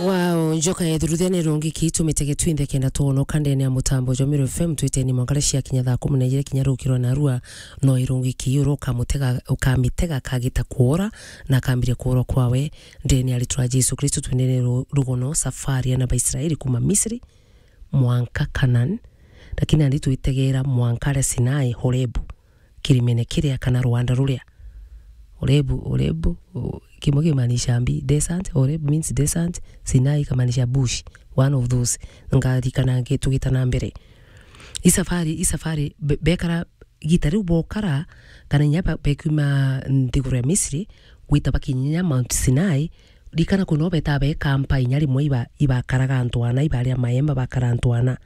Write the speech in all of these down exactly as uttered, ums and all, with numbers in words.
Wow, njoka ya thuruthia ni rungi ki tumitege twinthe kenda twonoka ndene ya mutambo jwa Meru F M twiteni mwangara cia kinya thaa kumi na ijiri kinya rukirwa narua no irungi ki uru ukamutega, ukamitega kagita kuora na akambiria kuorwa kwawe ndene ya ritwa Jesu Kristo twendene ru-, rugono safari ya na Baisraeli kuma Misri mwanka Canaan, lakini nandi twitegera mwanka aria Sinai, Horebu, kirimene kiria kana rwanda ruria. Horebu, Horebu, u-, kimwe kimaanisha mbi, desert, Horeb means desert, Sinai ikamaanisha bush, one of those. Ngarikana ngi-, tugita na mbere. I safari, i safari, be-, bekara igita riu bokara, kana inya ba-, bekiuma nthiguru ya Misri, gwita bakinya Mount Sinai, rikana kuno beta bekampa inya rimwe iba-, ibakaraga antu ana, ibaria maemba bakara antu ana.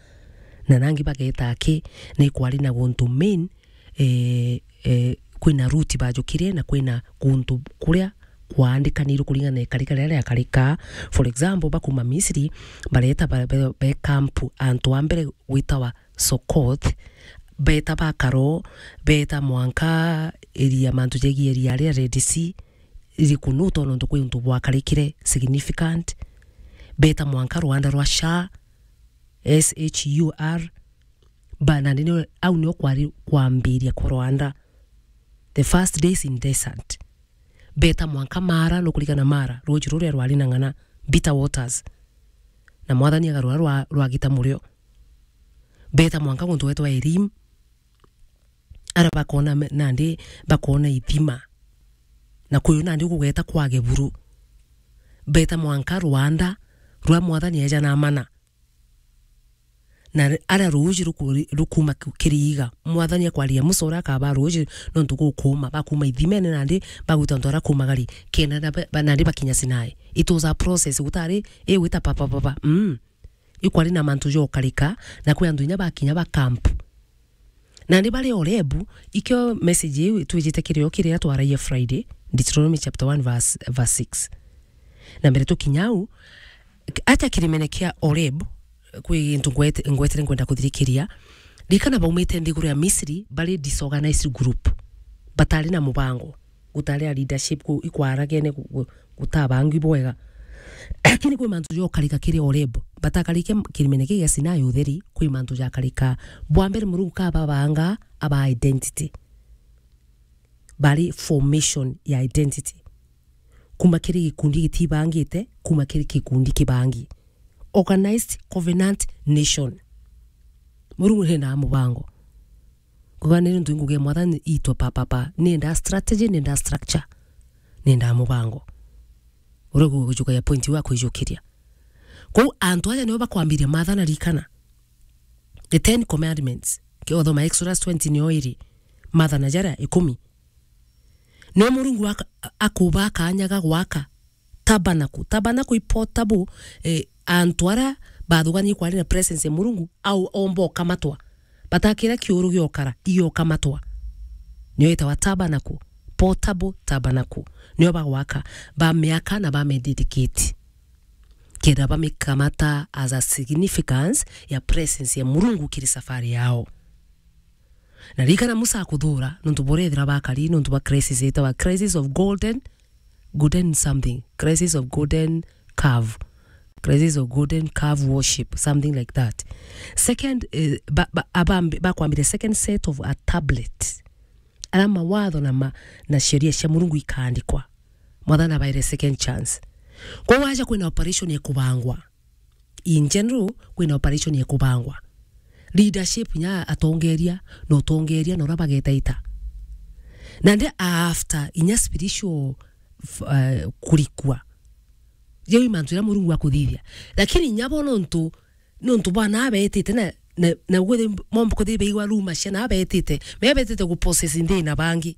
Na nangi bageta aki, ni kwari na guntu main, eh, eh, kwina route bajukire na kwina guntu kuria kwaandikanirwe kuringana na ikarika riria riakarika. For example, bakuma Misri, bareta ba-, be-, bekampu antu a mbere gwitawa Sokoth, beta bakaro, beta mwanka iria, mantu jegie iria ria Red Sea, iriku nu to nontu kwi untu bwakarikire significant, beta mwanka rwanda rwa Shur, S H U R, ba, na nini, au nio kwari kwambiria kwa rwanda, the first days in desert. Beta mwanka Mara, nukurikana Mara, ruuji ruria rwari na ng'ana, bitter waters, na Mwathani agarura rwa-, rwagita murio. Beta mwanka guntu gwetwa Elim, ara bakona me-, nandi bakona ithima, na kuyu nandi gugeta kwage buru. Beta mwanka rwanda rwa Mwathani eja na mana. Na ri-, aria ruuji ruku-, rukuma ku-, kiriiga, Mwathani akwaria Musa uria akabaa ruuji, nontu gukuuma, bakuma ithimene nandi bagwita antu aria kumagari, kenda na ba-, ba-, nandi bakinya Sinai. It was a process, gutari, i gwita papa, papa. Mm. Ikwari na mantu jokarika, na kwi antu inya bakinya ba camp. Nandi bari Horebu, ikio message iu itwijite kirio kiria twaragia Friday, Deuteronomy chapter one verse, verse six. Na mbere tukinya au, atia kirimene kia Horeb, kwi gintu ngwete-, ngwetere nkwenda kuthirikiria. Ririkana baumite nthiguru ya Misri, bari disorganized group. Batari na mubango. Gutari a leadership ku-, ikwaragene gu-, gu-, gutabangwi bwega. Lakini kwi mantu jokarika kiri Horeb. Batakarike m-, kirimene kii gia Sinai utheri, kwi mantu jakarika. Bwa mbere Murungu kababanga aba identity. Bari formation ya identity. Kuma kiri gikundi gitibangite, kuma kiri gikundi kibangi. Organized covenant nation. Murungu nenda mubango. Kuga ni ntu ngugi ya Mwathani itwa pa, pa, pa. Nenda strategy, nenda structure. Nenda mubango. Uria gu-, gujuka ya point wa kwijukiria. Kou antu aja nio bakwambiria mathana rikana. The Ten Commandments. Ke uthoma Exodus twenty nio iri. Mathana jaria ikumi. Nio Murungu aka-, akuba kanya ga gwaka tabernacle. Tabernacle i portable, eh, antu aria bathuganie kwari na presence ya Murungu, au omba ukamatwa. Batakira kiuru giokara, igiokamatwa. Nio itawa tabernacle, portable tabernacle. Nio bagwaka, bamiaka na bamededicate. Kenda bamikamata as a significance ya presence ya Murungu kiri safari yao. Na ririkana Musa akuthura, nontu burethira bakari, nontu bwa crisis itawa crisis of golden, golden something, crisis of golden calf, crisis of golden calf worship, something like that. Second, eh, ba, ba, abambi-, bakwambire second set of a tablet. Ara mawatho na ma-, na sheria cia Murungu ikaandikwa. Mwathani abaire second chance. Kwa waja kwina operation ya kubangwa. In general, kwina operation ya kubangwa. Leadership nya atongeria, na utongeria na uria bagetaita. Na ndi after inya spiritual f-, eh, kurikua. Jau i mantu iria Murungu akuthithia. Lakini inya bo nontu, nontu bwana abetite na, na, na gwithi momba kuthi beigwa ruma cia na abetite. Mebetite gupossess nthi na bangi.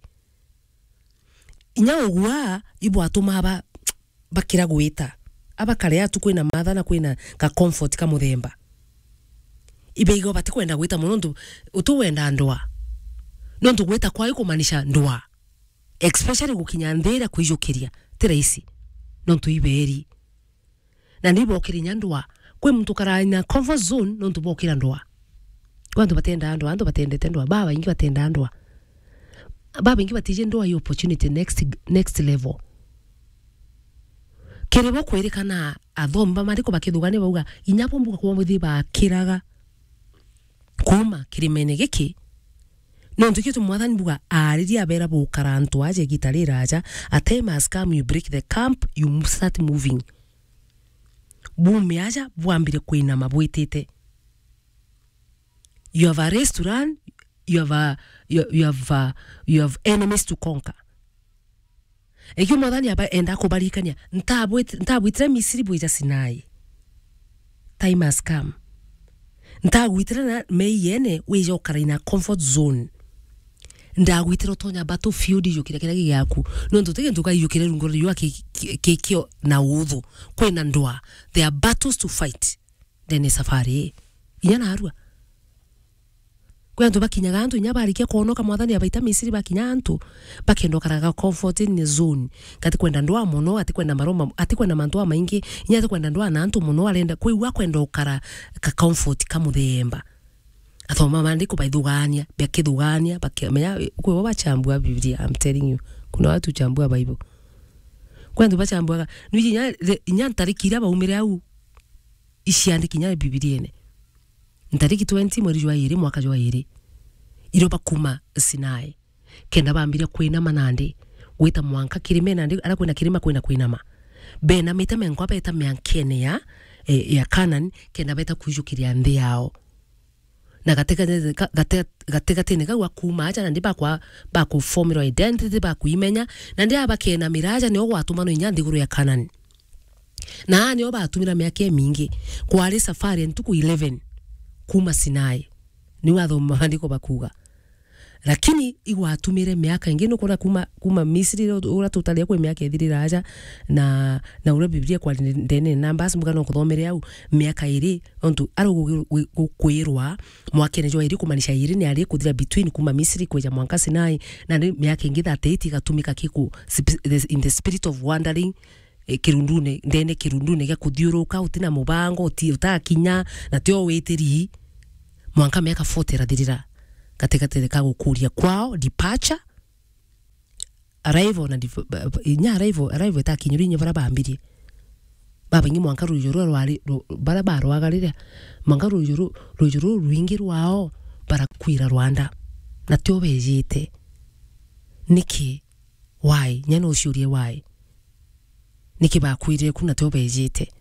Inya ugwa, ibwatuma ba-, bakira gwita. Abakare atu kwina matha na kwina ka comfort ka muthemba. Ibeigo batikwenda gwita mono nontu utu wenda ndwa. Nontu gwita kwao ikumaanisha ndwa. Especially gukinya nthi iria kwijukiria, ti rahisi. Nontu iberi. Na ni bokira inya ndwa. Kwi muntu ukara in a comfort zone nontu bokira ndwa. Kwi antu batendaa ndwa, antu batendete ndwa, babaingi batendaa ndwa. Babaingi batiji ndwa i opportunity next, next level. Kiri bo kwirikana, athomi ba maandiko bakithugania bauga, inya bo mbuga kwomithia bakiraga kuuma kirimene giki, nontu kio tu Mwathani mbuga aaririe abera bukara antu aja igita riraja, a time has come, you break the camp, you mo-, start moving. Buume aja, bwambire kwinama bwitite. You have a race to run, you have a, you, you have a, you have enemies to conquer. Ikio Mwathani aba enda kubarikania, "Ntabwit-, ntabwitire Misiri bwija Sinai. Time has come. Ntagwitire na meiene wija ukara in a comfort zone. Ndagwitire utonya battlefield, iyukire kiria gigiaku. Nontu ti gintu ukaiyukire rungu rwa riua ki-, ki-, ki-, kio na uthu. Kwina ndwaa. There are battles to fight." Then safari ii. Inya narua. Kwi antu bakinyaga antu, inya barikia kwonoka, Mwathani abaita Misiri, bakinya antu, bakenda ukaraga comfort in zone. Gati kwenda ndwaa mono, gati kwenda maroma, ati kwenda mantu amaingi, inya ati kwenda ndwaa na antu mono, arenda, kwi u akwenda ukara ka comfort ka muthemba. Athoma maandiko baithugania, bakithugania, bakimenya, kwi bo bachambua Biblia, I'm telling you. Kuna watu chambua Bible. Kwi antu bachambuaga, nwiji inya, inya ntariki iria baumire au, iciandiki inya Bibiliene. Ntariki twenty mweri jwa iri, mwaka jwa iri, irio bakuma Sinai, kenda bambire kwinama nandi, gwita mwanka kirime nandi, aria kwina kirima kwina kwinama. Benamite menkwa beta miankene ya, eh, ya Canaan, kenda beta kwijukiria nthi yao. Na gati-, gati-, gati-, gatigatine kau akuuma aja, nandi bakwa-, bakuformirwa identity, bakwimenya, nandi aa bakenamira aja, nio gwatuma no inya nthiguru ya Canaan. Na aa nio batumira miaka imingi, kwari safari ya ntuku eleven kuuma Sinai. Niu athoma maandiko bakuuga. Lakini igwatumire miaka ingi, nukwona kuuma, kuuma Misri, uria tutaria kwi miaka ithirira aja, na, na uria Biblia kwari ndene na Numbers, mbuga no kuthomere au, miaka iri, nontu ari gu-, gu-, gukwirwa mwakene jwa iri, kumaanisha iri ni ari kuthira between kuuma Misri kwija mwanka Sinai, na ni miaka ingi thirty-eight igatumika kiku, sp-, in the spirit of wandering, eh, kirundune, ndene kirundune gia kuthiuruka, utina mubango, uti-, utakinya, na tio witiri, mwanka miaka forty irathirira, gatigati ka gukuria kwao, departure, arrival na dif-, ba-, ba-, inya arrival, arrival itakinyirwe inya bara bambirie. Babaingi mwanka ruijo rua rwari, ru-, bara barwaga riria, mwanka ruijo ru-, ruijo ruu rwingi rwao barakwira rwanda. Na tio bejite. Niki? Why? Nya no uciurie why? Niki bakwirire ku na tio bejite?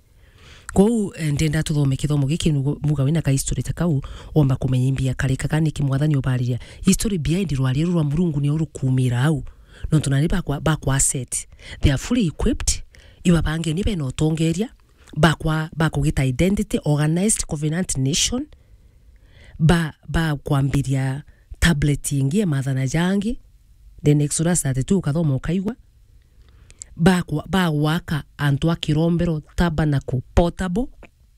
Kou, eh, ndenda tuthome kithomo giki, nugu-, muga wina ka history ta kau, womba kumenya imbia karika ka niki Mwathani ubariria. History behind rwaria ruru rwa Murungu nio rukumira au. Nontu nani bakwa, bakwa set. They are fully equipped, ibabange ni bena utongeria, bakwa, bakugita identity, organized covenant nation, ba, bakwambiria tablet ingi ya maathana jangi, then Exodus thirty-two ukathoma ukaigua, bakwa-, bagwaka antu a kirombero, tabernacle, portable.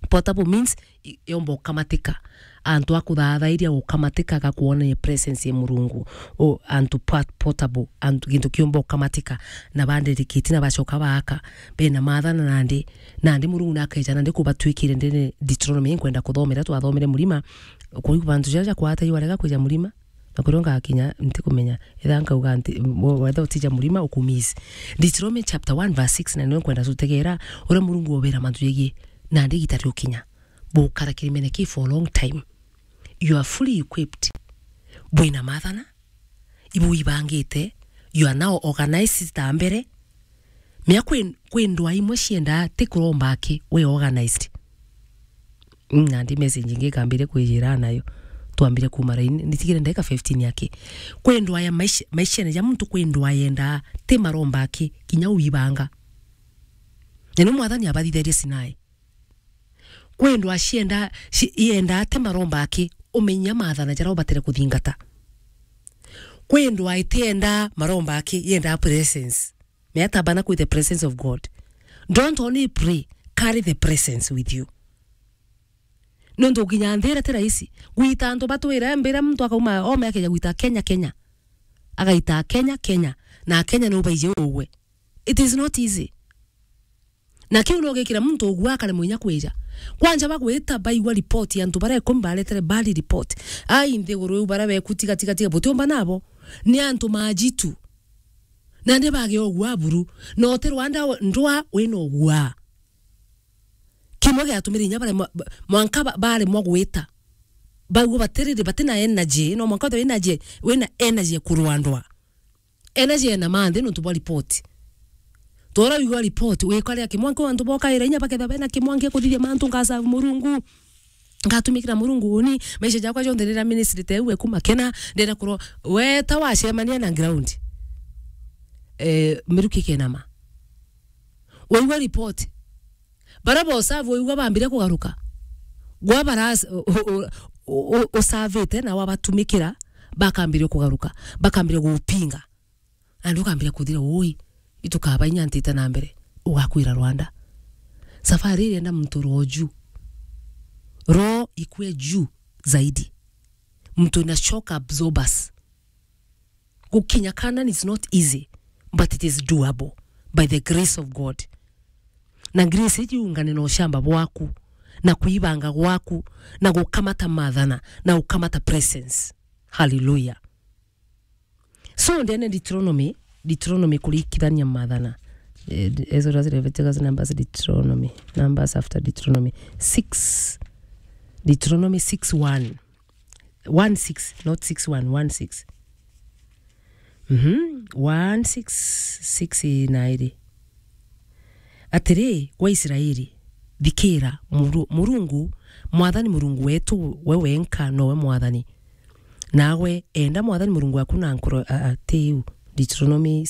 Portable means i-, yomba ukamatika. Antu a kuthathairia gukamatika gakwonania presence ya Murungu. O, antu pa-, portable, antu gintu kiomba ukamatika, na banderikiti na bacoka baaka, bena maathana nandi, nandi Murungu nakeja nandi kubatwikire ndene Deuteronomy, nkwenda kuthomera, twathomere murima, kuri bantu jaja kwata iwarega kwija murima, na kurio ngakinya ntikumenya, etha nkauga nti, wetha utija murima ukumiss. Deuteronomy chapter one verse six, na nio nkwenda tutegera uria Murungu obera mantu jegie, nandi igita riukinya, bukara kirimene ki for a long time. You are fully equipped. Bwina maathana, ibu ibangite, you are now organized ta mbere. Mea kwi, kwi ndwaa imwe ciendaa ti kuromba aki, we organized. Mm, nandi message ingi ikambire kwijira nayo. Twambire kuuma raini, nitigire ndagika fifteen aki. Kwi ndwaa ya maisha, maishene ja muntu kwi ndwaa yendaa ti maromba aki, kinya uibanga. Na ni Mwathani abathithirie Sinai. Kwi ndwaa cienda, ci-, iendaa ti maromba aki, umenya maathana jaria ubatire kuthingata. Kwi ndwaa itiendaa maromba aki, yendaa presence. Mea tabana with the presence of God. Don't only pray, carry the presence with you. Nontu ukinya nthi iria ti rahisi. Gwita antu batwire, mbira muntu akauma, ome akeja gwita Kenya, Kenya. Agaita Kenya, Kenya. Na Kenya ni ubaije ugwe. It is not easy. Na kiu no gikira muntu ugua akaremwa inya kwija. Kwanja bagwita baigua report ya antu baria ikumi baretere bad report. Ai, nthiguru iu baria beku tiga, tiga, tiga, butiumba nabo. Ni antu majitu. Nandi bage ogua buru. Na uti Rwanda ndwa wina ogua. Kimwe giatumire inya baremwa, ba-, mwanka ba-, baremwa gwita. Baigua batiriri, batina energy, no mwanka withirwe wina energy, wina energy ya kurwa ndwa. Energy ena manthi nontu bwa report. Tora wigua report, wikaria kimwanki antu bokaira inya baketha bena kimwanki akuthiria mantu ngasavu Murungu. Ngatumikira Murungu uni, maisha jakwa jonthe ndira ministry te uwe kuma kena, ndira kuro, weta wacemania na ground. Eh, miruki kenama. Waigua report. Bara bosavu waigua bambire kugaruka. Gwa bara s-, u-, u-, u-, u-, usavite na wabatumikira, bakambire kugaruka. Bakambire gupinga. Andu ukambire kuthira, ui, itukaba inya ntite na mbere. Ugakwira Rwanda. Safari irienda muntu roho juu. Roho ikue juu zaidi. Muntu na shock absorbers. Gukinya Canaan is not easy, but it is doable by the grace of God. Na grace iji iungane na ushamba bwaku, na kuibanga gwaku, na gukamata mathana, na gukamata presence. Hallelujah. So, ndene Deuteronomy, Deuteronomy kurikithania mathana. Eh, Exodus, Leviticus, Numbers, Deuteronomy. Numbers after Deuteronomy. Six. Deuteronomy six one. One six, not six one, one six. Mhm, one six, six na iri. Atiri, gwa Israeli, thikira, Muru-, Murungu, Mwathani Murungu wetu, we wenka nowe Mwathani. Nawe, enda Mwathani Murungu waku na nkoro, a, a, ti iu. Deuteronomy